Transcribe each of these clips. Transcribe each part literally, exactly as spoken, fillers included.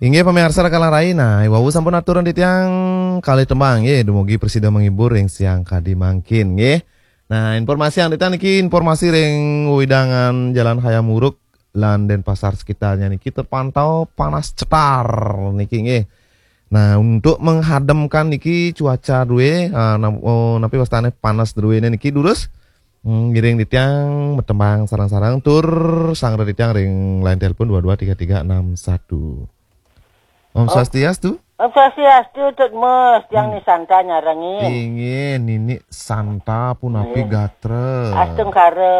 Inggih pamiarsa rakalang rai, nah, wau sampun aturan titiang kalih tembang, nggih, dumugi prasida menghibur ring siang kadi mangkin, nggih. Nah, informasi yang titiang niki informasi ring wewidangan Jalan Hayam Wuruk lan Denpasar sekitarnya niki terpantau panas cetar niki, nggih. Nah, untuk menghademkan niki cuaca druwe, ah, nam-, oh, napi wastane panas druwene niki durus, hmm, ngiring titiang matembang sareng-sareng tur sanggra titiang ring line telepon dua dua tiga tiga enam satu. Om Om Swastiastu. Om Swastiastu, Tut Mus, tiang Hmm. Ni Santa nyarengin. Inggih, Nini Santa punapi Nggih. Gatra. Astungkara,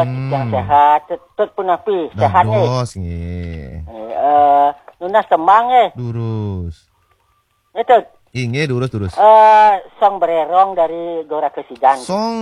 Mm-mm. Titiang sehat, Tut, Tut punapi, sehat, eh? Dados, nggih. Eh, eh, nunas tembang, eh? Durus. Eh, Tut. Inggih, durus, durus. Eh, Song Brerong dari Gora Kesidan. Song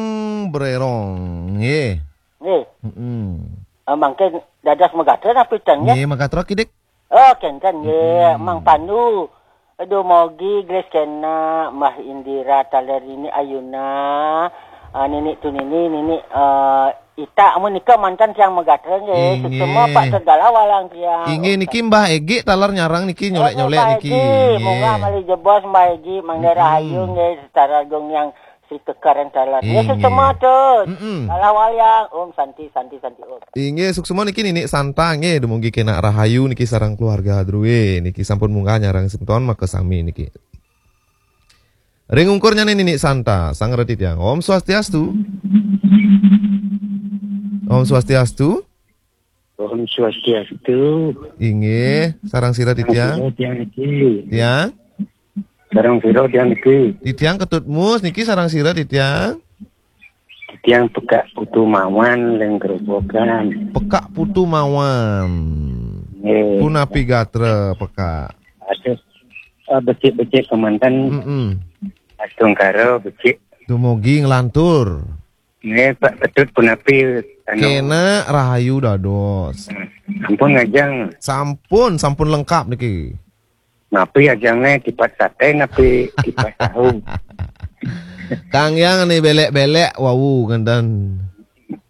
Brerong, nggih. Nggih. Mm-mm. Eh, mangkin dados magatra napi ten, nggih? Nggih, magatra kidik. Oh, kenten nggih, Hmm. Mang Pandu. Aduh, mogi Grace kena, Mbah Indira, taler Nini Ayuna, ah, Nini Tunini, Nini, eh, Ita, amun nika mantan tiang magatra nggih. Inggih. Suksema Pak Segala walang tiang. Inggih, niki Mbah Egi taler nyarang niki, nyolek-nyolek Mbah niki. Egi, nggih. Moga malih jebos Mbah Egi, mangda Mm-mm. rahayu nggih, Setara Agung yang Sri Kekar yang taler. Ya, Inggih. Suksema, Tut. Mm-mm. Salah wayang. Om Santi, Santi, Santi, Om. Inggih, suksema niki Nini Santa nggih, dumugi kena rahayu niki sareng keluarga druwe niki sampun munggah nyarang semeton makasami niki. Ring ungkurnya Nini Santa, sanggra titiang. Om Swastiastu. Om Swastiastu. Om Swastiastu. Inggih, sareng sira titiang. Sareng sira tiang niki. Tiang? Sareng sira tiang niki. Titiang Ketut Mus niki sareng sira titiang. Titiang Pekak Putu Mawan ring Grobogan. Pekak Putu Mawan. Nggih. Punapi gatra Pekak? Aduh, eh, becik-becik kemanten. Mm-mm. Astungkara becik. Dumugi nglantur. Nggih, Pak Ketut punapi, anu? Kena rahayu dados. Sampun ngajeng. Sampun, sampun lengkap niki. Napi ajangne, tipat sate napi tipat tahu? Kang Yang ni belek-belek wau kenten.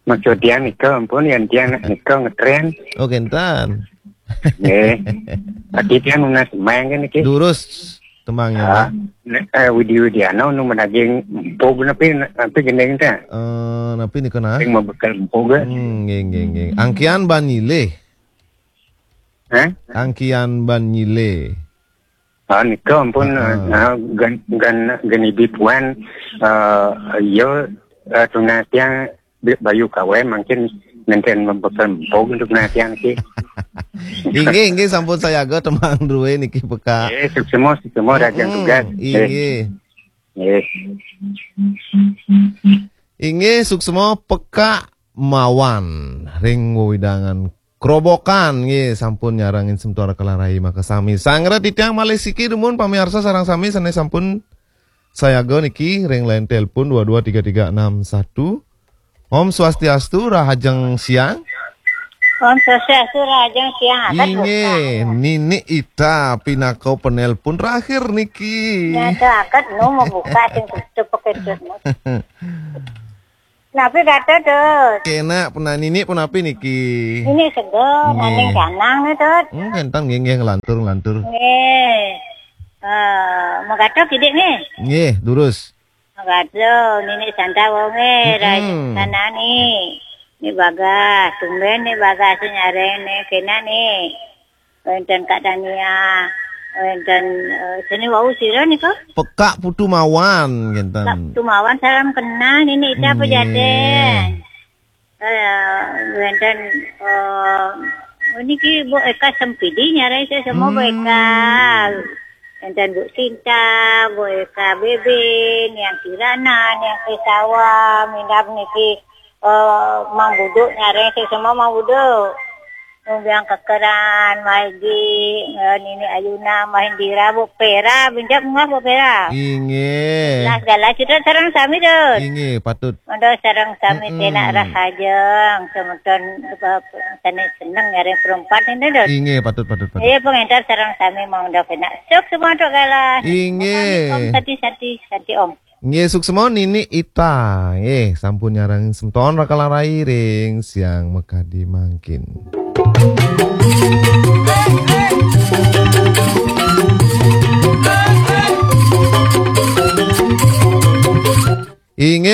Maksud tiang nika ampun, yang tiang nika ngetren. Oh, kenten. Nggih. Ati tiang nunas semeng kan niki. Durus tembangnya. Ah, ne-, eh, Widi Widiana nu menaging empug napi, napi gending ta? Eh, napi nika nah? Sing mabekel empug. Hmm, nggih, nggih, nggih. Angkian Ban Nyilih. Hah? Angkian Ban Nyilih. Ah, nika ampun, Heeh. Ah, gan, gan, gan ibi puan, eh, iya, eh, tunas tiang bi-, bayu kawem mangkin nenten mabekel empug untuk tunas tiang niki. Inggih, inggih, sampun sayaga tembang druwe niki Pekak. Eh, suksema, suksema, rajang Mm-mm, tugas. Eh. Inggih. Eh. Inggih, suksema Pekak Mawan ring wewidangan Grobogan nggih sampun nyarengin semeton rakalang rai makasami. Sanggra titiang malih siki dumun pamiarsa sareng sami sane sampun sayaga niki ring line telepon dua dua tiga tiga enam satu. Om Swastiastu, rahajeng siang. Om Swastiastu, rahajeng siang. Atas Inggih, bukan. Nini Ita pinaka penelpon terakhir niki. Nyata akad nu mabuka sing tutup pakai tutup. Napi kata, Dut? Kena puna-, Nini punapi niki? Ini seger, Nggih. Aning canang nih, Dut. Hmm, kenten nggih, nggih, nglantur, nglantur. Nggih. Eh, magato kidik nih. Nggih, durus. Magato, Nini Santa wonge, Mm-mm. Rajana nih. Ni bagas, tumben ni bagas nyareng nih, kena nih. Wenten Kak Tania, wenten, eh, seni wau sira nika? Pekak Putu Mawan, ngenten. Pekak Putu Mawan, salam kenal, Nini Ita Nggih. Pejaten. Eh, wenten, eh, niki Bu Eka Sempidi nyareng saya semua Bu Eka. Hmm. Wenten Bu Sinta, Bu Eka Bebin, yang Kirana, yang Kesawa, minab niki, eh, Mang Buduk nyareng saya semua Mang Buduk. Lumbiang Kekeran, Maigi, eh, Nini Ayuna, Mahendira, Bu Pera, binjak munggah Bu Pera. Inggih. Lah segala cerita sareng sami, Dut. Inggih, patut. Mangda sareng sami Mm-mm. Tenak rahajeng, semeton, eh, sane seneng nyareng perempat ini, Dut. Inggih, patut, patut, patut. Iya, pengentar sareng sami mangda penak. Suk semua untuk galah. Inggih. Om Santi, Santi, Santi, Om. Nggih, suksma Nini Ita. Nggih, sampun nyarengin semeton rakalang rai ring siang makadi mangkin.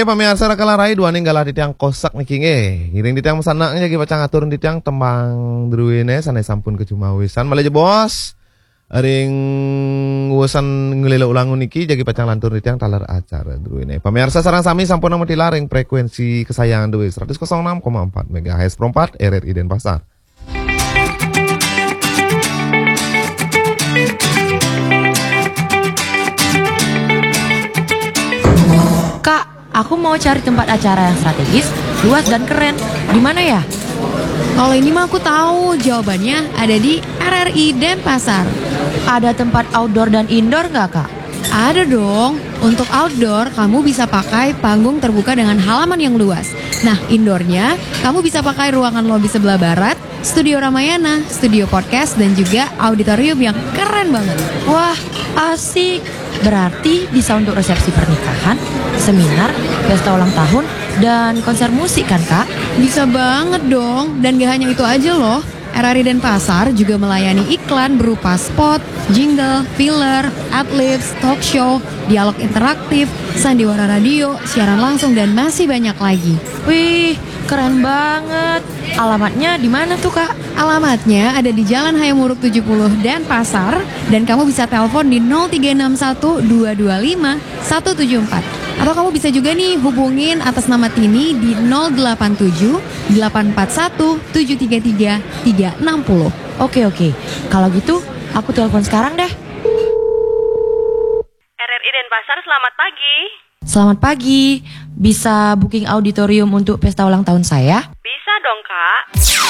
Pamiarsa, raka larai duaning galah titiang Kosak niki nggih. Ngiring titiang masanak jagi pacang atur titiang tembang druene sane sampun kacumawisan. Malih jebos ring wusan nglelo ulangun niki jagi pacang lantur titiang taler acara druene. Pamiarsa sareng sami sampun matilar ring frekuensi kesayangan druene seratus kosong enam koma empat megahertz Pro empat R R I Denpasar. Kak, aku mau cari tempat acara yang strategis, luas dan keren. Di mana ya? Kalau ini mah aku tahu, jawabannya ada di R R I Denpasar. Ada tempat outdoor dan indoor nggak, Kak? Ada dong. Untuk outdoor, kamu bisa pakai panggung terbuka dengan halaman yang luas. Nah, indoornya, kamu bisa pakai ruangan lobi sebelah barat, studio Ramayana, studio podcast, dan juga auditorium yang keren banget. Wah, asik. Berarti bisa untuk resepsi pernikahan, seminar, pesta ulang tahun, dan konser musik kan, Kak? Bisa banget dong. Dan gak hanya itu aja loh. R R I Denpasar juga melayani iklan berupa spot, jingle, filler, adlibs, talk show, dialog interaktif, sandiwara radio, siaran langsung, dan masih banyak lagi. Wih, keren banget. Alamatnya di mana tuh, Kak? Alamatnya ada di Jalan Hayam Wuruk tujuh puluh Denpasar, dan kamu bisa telepon di nol tiga enam satu dua dua lima satu tujuh empat. Atau kamu bisa juga nih hubungin atas nama Tini di nol delapan tujuh delapan empat satu tujuh tiga tiga tiga enam nol. Oke, oke. Kalau gitu, aku telepon sekarang deh. R R I Denpasar, selamat pagi. Selamat pagi. Bisa booking auditorium untuk pesta ulang tahun saya? Bisa dong, Kak.